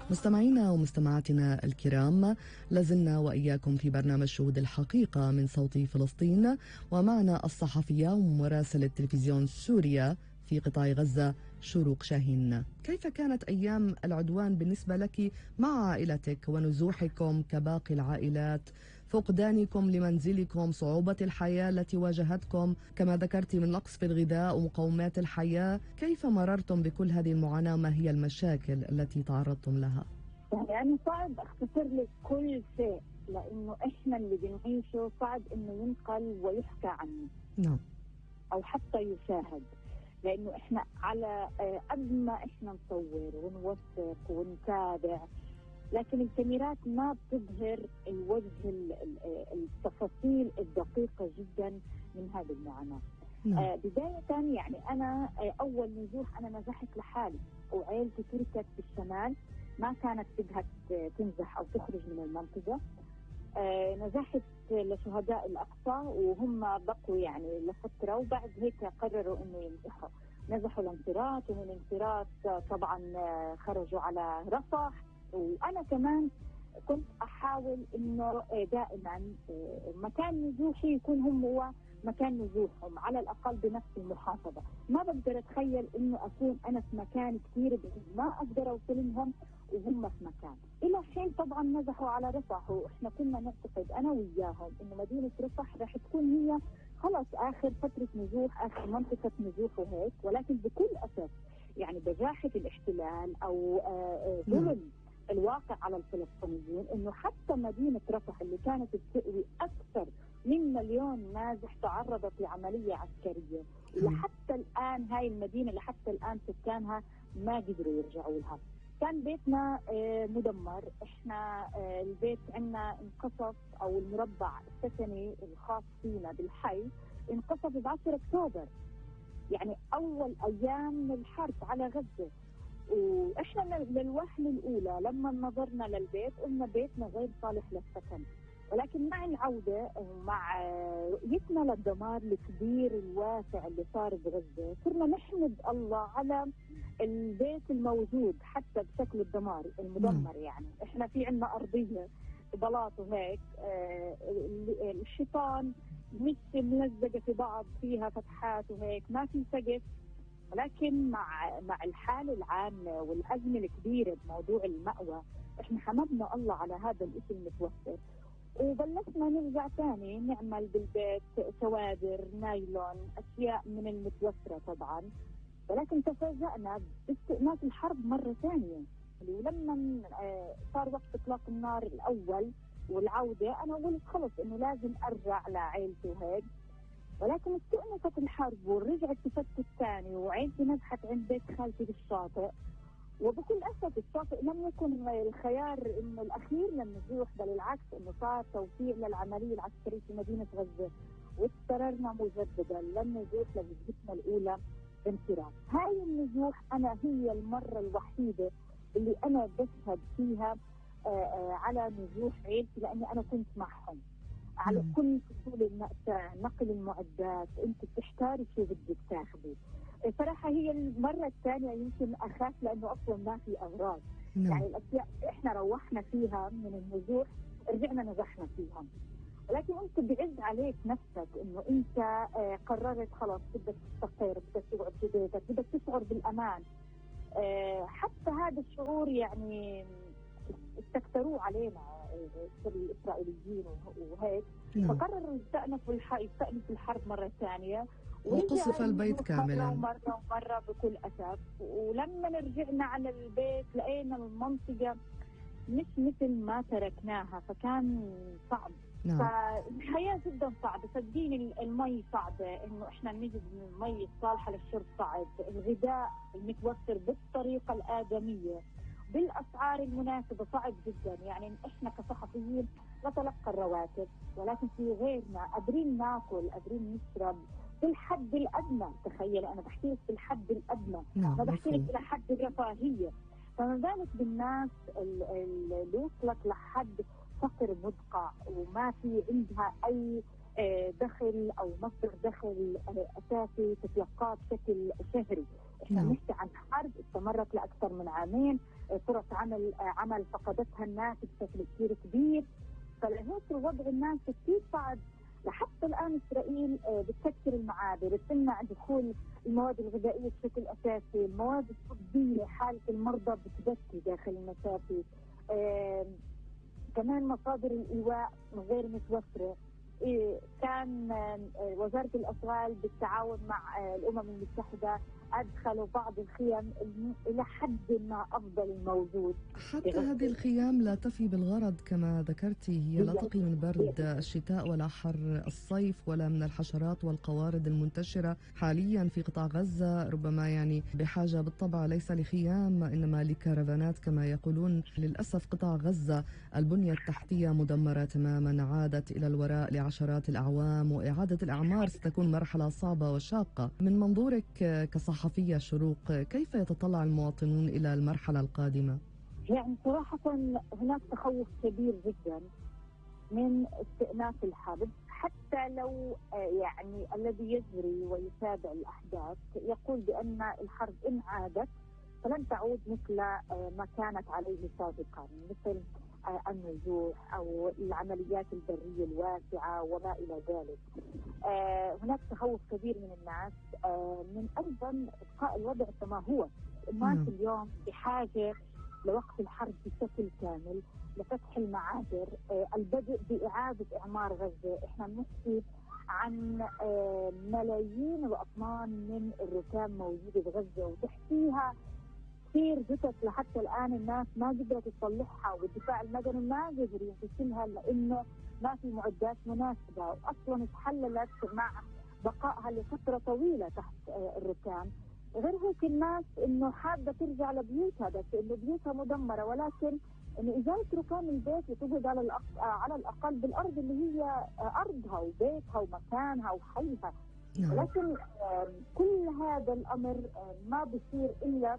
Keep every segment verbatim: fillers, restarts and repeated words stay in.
مستمعينا ومستمعاتنا الكرام، لازلنا وإياكم في برنامج شهود الحقيقة من صوت فلسطين، ومعنا الصحفية ومراسلة تلفزيون سوريا في قطاع غزة شروق شاهين. كيف كانت أيام العدوان بالنسبة لك مع عائلتك ونزوحكم كباقي العائلات، فقدانكم لمنزلكم، صعوبة الحياة التي واجهتكم كما ذكرت من نقص في الغذاء ومقومات الحياة؟ كيف مررتم بكل هذه المعاناة؟ ما هي المشاكل التي تعرضتم لها؟ يعني صعب اختصر لك كل شيء، لأنه إحنا اللي بنعيشه صعب إنه ينقل ويحكى عنه. نعم. أو حتى يشاهد، لأنه إحنا على قد ما إحنا نصور ونوثق ونتابع، لكن الكاميرات ما بتظهر الوجه التفاصيل الدقيقة جدا من هذه المعاناة. نعم. آه بداية يعني أنا آه أول نزوح أنا نزحت لحالي، وعائلتي تركت في الشمال، ما كانت بدها تنزح أو تخرج من المنطقة. آه نزحت لشهداء الأقصى وهم بقوا يعني لفترة، وبعد هيك قرروا إنه ينزحوا. نزحوا الانصراط، ومن الانصراط طبعا خرجوا على رفح، وأنا كمان كنت أحاول إنه دائما مكان نزوحي يكون هم هو مكان نزوحهم، على الأقل بنفس المحافظة. ما بقدر أتخيل إنه أكون أنا في مكان كثير بعيد ما أقدر أوصل لهم وهم في مكان. إلى حين طبعا نزحوا على رفح، وإحنا كنا نعتقد أنا وياهم إنه مدينة رفح رح تكون هي خلاص آخر فترة نزوح، آخر منطقة نزوح وهيك، ولكن بكل أسف يعني بجاحة الاحتلال أو ظلم الواقع على الفلسطينيين، إنه حتى مدينة رفح اللي كانت بتأوي أكثر من مليون نازح تعرضت لعملية عسكرية، ولحتى الآن هاي المدينة لحتى الآن سكانها ما قدروا يرجعوا لها. كان بيتنا مدمر، احنا البيت عندنا انقصف، او المربع السكني الخاص فينا بالحي انقصف ب عشرة أكتوبر، يعني اول ايام الحرب على غزة. واحنا للوهلة الاولى لما نظرنا للبيت قلنا بيتنا غير صالح للسكن، ولكن مع العودة ومع رؤيتنا للدمار الكبير الواسع اللي صار بغزة صرنا نحمد الله على البيت الموجود حتى بشكل الدمار المدمر. يعني احنا في عنا أرضية بلاط وهيك، الشيطان مش ملزقة في بعض، فيها فتحات وهيك، ما في سقف، ولكن مع مع الحالة العامة والأزمة الكبيرة بموضوع المأوى احنا حمدنا الله على هذا الاسم المتوفر، وبلشنا نرجع تاني نعمل بالبيت سوادر نايلون، أشياء من المتوفرة طبعا. ولكن تفاجأنا باستئناف الحرب مرة ثانية، ولما صار وقت إطلاق النار الأول والعودة أنا قلت خلص إنه لازم أرجع لعائلتي وهيك، ولكن استئنفت الحرب ورجعت تفتت ثاني، وعائلتي نزحت عند بيت خالتي بالشاطئ. وبكل أسف الشاطئ لم يكن الخيار إنه الأخير للنزوح، بل العكس إنه صار توفير للعملية العسكرية في مدينة غزة، واضطررنا مجددا للنزوح لوجهتنا الأولى بانصراف. هاي النزوح أنا هي المرة الوحيدة اللي أنا بشهد فيها آآ آآ على نزوح عيلتي، لأني أنا كنت معهم على كل فصول المأساة، نقل المعدات، أنت بتحتاري شو بدك تاخذي. صراحة هي المرة الثانية يمكن أخاف لأنه أصلا ما في أغراض. نعم. يعني الأشياء إحنا روحنا فيها من النزوح رجعنا نزحنا فيها، ولكن أنت بعز عليك نفسك إنه أنت آه قررت خلاص بدك تستقر، بدك تقعد في بيتك، بدك تشعر بالأمان. آه حتى هذا الشعور يعني استكتروه علينا الإسرائيليين وهيك. نعم. فقرروا يستأنفوا يستأنفوا الحرب مرة ثانية، وقصف البيت كاملا مرة ومرة بكل أسف. ولما رجعنا على البيت لقينا المنطقة مش مثل ما تركناها، فكان صعب. نعم. فالحياة جدا صعبة، صدقيني المي صعبة، إنه إحنا نجد المي الصالحة للشرب صعب، الغذاء المتوفر بالطريقة الآدمية بالأسعار المناسبة صعب جدا. يعني إحنا كصحفيين نتلقى الرواتب، ولكن في غيرنا قادرين ناكل، قادرين نشرب في الحد الأدنى. تخيل أنا بحكي لك في الحد الأدنى، نعم. ما بحكي لك إلى حد الرفاهية، فما بالك بالناس اللي وصلت لحد فقر مدقع وما في عندها أي دخل أو مصدر دخل أساسي تتلقاه بشكل شهري. إحنا نحكي عن حرب استمرت لأكثر من عامين، فرص عمل عمل فقدتها الناس بشكل كثير كبير. فلهيك الوضع الناس كثير صعب. لحتى الآن إسرائيل بتسكر المعابر، بتمنع دخول المواد الغذائية بشكل أساسي، المواد الطبية، حالة المرضى بتبكي داخل المسافي. آه كمان مصادر الإيواء غير متوفرة. إيه كان آه وزارة الأشغال بالتعاون مع آه الأمم المتحدة أدخلوا بعض الخيام إلى حد ما أفضل الموجود. حتى هذه الخيام لا تفي بالغرض كما ذكرتي، هي لا تقي من برد الشتاء ولا حر الصيف ولا من الحشرات والقوارض المنتشرة حاليا في قطاع غزة. ربما يعني بحاجة بالطبع ليس لخيام إنما لكرفانات كما يقولون. للأسف قطاع غزة البنية التحتية مدمرة تماما، عادت إلى الوراء لعشرات الأعوام، وإعادة الأعمار ستكون مرحلة صعبة وشاقة. من منظورك كصحفية صحفية شروق، كيف يتطلع المواطنون إلى المرحلة القادمة؟ يعني صراحة هناك تخوف كبير جدا من استئناف الحرب، حتى لو يعني الذي يجري ويتابع الأحداث يقول بأن الحرب إن عادت فلن تعود مثل ما كانت عليه سابقا، مثل النزوح أو العمليات البرية الواسعة وما إلى ذلك. آه هناك تخوف كبير من الناس آه من أيضا إبقاء الوضع كما هو. الناس م. اليوم بحاجة لوقف الحرب بشكل كامل، لفتح المعابر، آه البدء بإعادة إعمار غزة. إحنا بنحكي عن آه ملايين الأطنان من الركام موجودة بغزة، وتحتيها كثير جثث لحتى الآن الناس ما قدرت تصلحها، والدفاع المدني ما قدر ينتشلها لأنه ما في معدات مناسبة، وأصلا تحللت مع بقائها لفترة طويلة تحت الركام. غير هيك الناس إنه حابة ترجع لبيوتها، بس إنه بيوتها مدمرة، ولكن إنه إزالة ركام البيت وتقعد على على الأقل بالأرض اللي هي أرضها وبيتها ومكانها وحيها. ولكن كل هذا الأمر ما بيصير إلا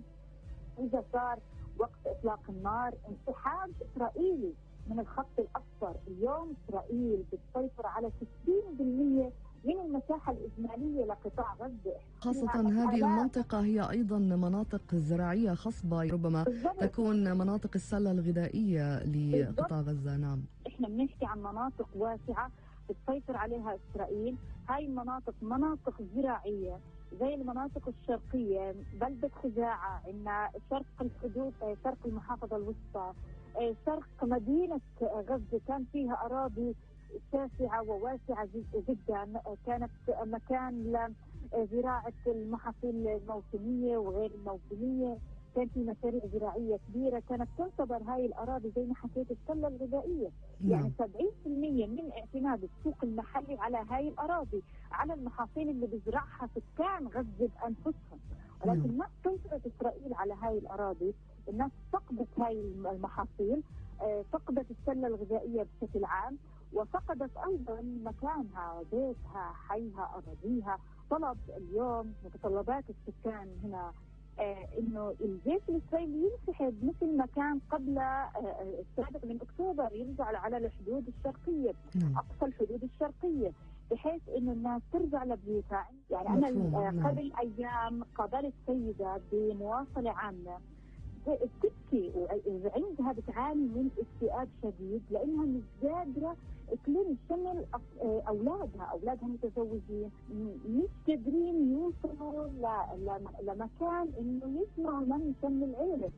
إذا صار وقت إطلاق النار، انسحاب إسرائيلي من الخط الأصفر. اليوم إسرائيل بتسيطر على ستين بالمئة من المساحة الإجمالية لقطاع غزة، خاصة هذه المنطقة هي أيضا مناطق زراعية خصبة، ربما بالضبط. تكون مناطق السلة الغذائية لقطاع غزة. نعم، إحنا بنحكي عن مناطق واسعة بتسيطر عليها إسرائيل. هاي المناطق مناطق زراعية زي المناطق الشرقية، بلدة خزاعة، عندنا شرق الحدود، شرق المحافظة الوسطى، شرق مدينة غزة كان فيها أراضي شاسعة وواسعة جدا، كانت مكان لزراعة المحاصيل الموسمية وغير الموسمية، كان في مشاريع زراعية كبيرة كانت تعتبر هاي الأراضي زي ما حكيت السلة الغذائية. يعني سبعين بالمئة من اعتماد السوق المحلي على هاي الأراضي، على المحاصيل اللي بزرعها سكان غزة بأنفسهم. ولكن ما سيطرت إسرائيل على هاي الأراضي، الناس فقدت هاي المحاصيل، فقدت السلة الغذائية بشكل عام، وفقدت أيضا مكانها، بيتها، حيها، أراضيها. طلب اليوم متطلبات السكان هنا آه انه الجيش الاسرائيلي ينسحب مثل ما كان قبل آه السابع من اكتوبر، يرجع على الحدود الشرقيه، اقصى الحدود الشرقيه، بحيث انه الناس ترجع لبيوتها. يعني انا آه قبل ايام قابلت سيده بمواصله عامه بتبكي وعندها بتعاني من اكتئاب شديد لانها مش قادره تلم شمل اولادها، اولادها متزوجين، مش قادرين يوصلوا لمكان انه يسمعوا من شمل العيله.